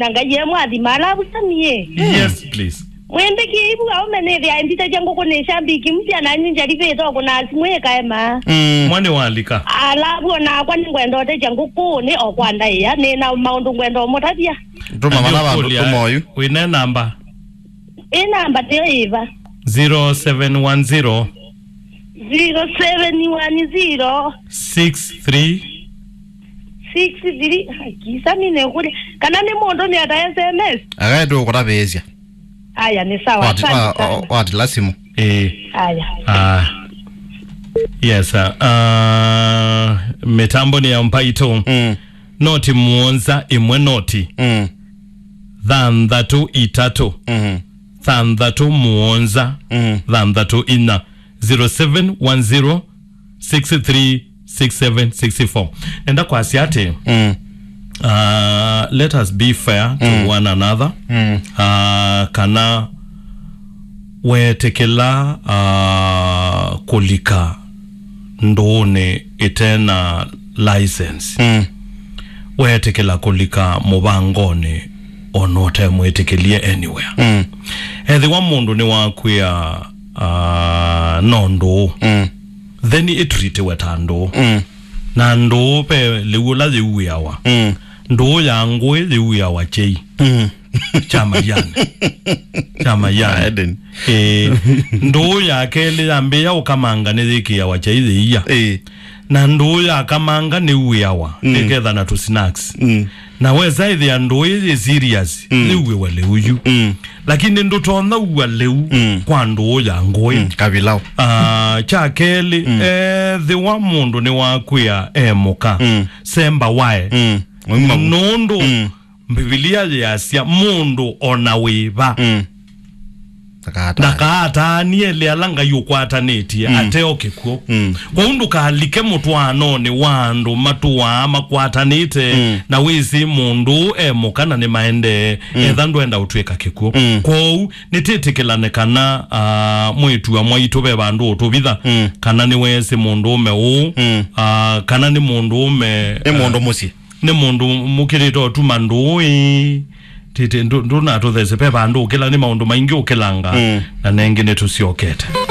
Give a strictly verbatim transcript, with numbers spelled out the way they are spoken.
Na Ngai e mwathima, alavu sami ĩ. Yes, please. Mwĩmbĩkĩe ivu aũme nĩthĩa ĩmbitĩtye ngũkũ nĩ shambiki mpya na nyu njalivĩte ũkũna simũ ĩkaema. Mm. Mwana walika. Alavu onakwa nĩngwenda ũtethya ngũkũ nĩ o kwa ndaĩa, nĩ na maũndũ ngwenda ũmũtavya. Tũma vana vandũ, tũma oyu. Wĩne namba? Ĩ namba nĩyo ĩva? Zero seven one zero. Zero seven one zero. Six three. Six three. Ai, kisa mine kule. Kana nĩ mũndũ nĩ ata S M S? Agae tu kũtavĩĩsya. Aya, nĩ sawa. Wati, asante wa, sana. Wati lasimu. Eh. Aya. Ah. Yes, sir. Ah, mĩtambo nĩ ya mpaito. Mm. Noti mũonza ĩmwe noti. Mm. Thanthatũ itatũ. Mhm. Thanthatũ mũonza. Mm. Thanthatũ inya. Zero seven one zero six three six seven six four. Nenda kwasya atĩ, mm, uh, let us be fair to, mm, one another. Mm. Uh, kana weetĩkĩla, uh, kũlika ndũũnĩ ĩte na license. Mm. Weetĩkĩla kũlika mũvangonĩ ona ũtemwĩtĩkĩlye anywhere. Mm. Ethĩwa mũndũ nĩwakwĩa, ah, no ndũũ, mm, then ĩtritiwe ta ndũũ. Mm. Na ndũũ ve lĩu ũla yĩuĩawa. Mm. Ndũũ ya ngũĩ yĩuĩawa kyei. Mm. Kya maianĩ. Kya maianĩ. Eden. Ĩĩ. Ndũũ ya kelĩ yambĩĩa ũkamanga nĩyĩkĩawa kyei yĩia. Ĩĩ. Na ndũũ ya kamanga nĩuĩawa, mm, ĩketha na tũ snacks. Mm. Na wesa ĩthĩa ndũũ ĩyĩ serious, mm, yĩuĩwe lĩu yu. Mm. Lakini ndũtonya ũa lĩu, mm, kwa ndũũ ya ngũĩ. Mm. Kavilau. Ah, kya kelĩ, mm, ethĩwa mũndũ nĩwakwĩa e mũka, mm, semba wae. Mm. Nũndũ, mm, Mbivilia yĩasya, mũndũ o na wĩva, mm, ndakaataanie, ndakaataanie ĩla Ngai ũkwatanĩtye, mm, ateo kĩkw'ũ. Mm. Kwoou ndũkalike mũtwaanonĩ wa andũ matũaa makwatanĩte, mm, na wĩsĩ mũndũ ũũ e mũka na nĩmaendee, mm, etha ndwenda ũtw'ĩka kĩkw'ũ. Mm. Kwoou nĩtĩtĩkĩlane kana, ah, mwĩĩtu wa mwaitũ ve vandũ ũtũvitha, mm, kana nĩweesĩ mũndũũme ũũ, mm, ah, kana nĩ mũndũũme, nĩ mũndũ, ah, mũsyĩ. Nĩ mũndũ mũkĩlĩte ũtuma ndũũ ĩĩ. Tĩtĩ, ndũ-, ndũnatũthesye, ve vandũ ũkĩla, nĩ maũndũ maingĩ ũkĩlanga, mm, na nengĩ nĩtũsyokete.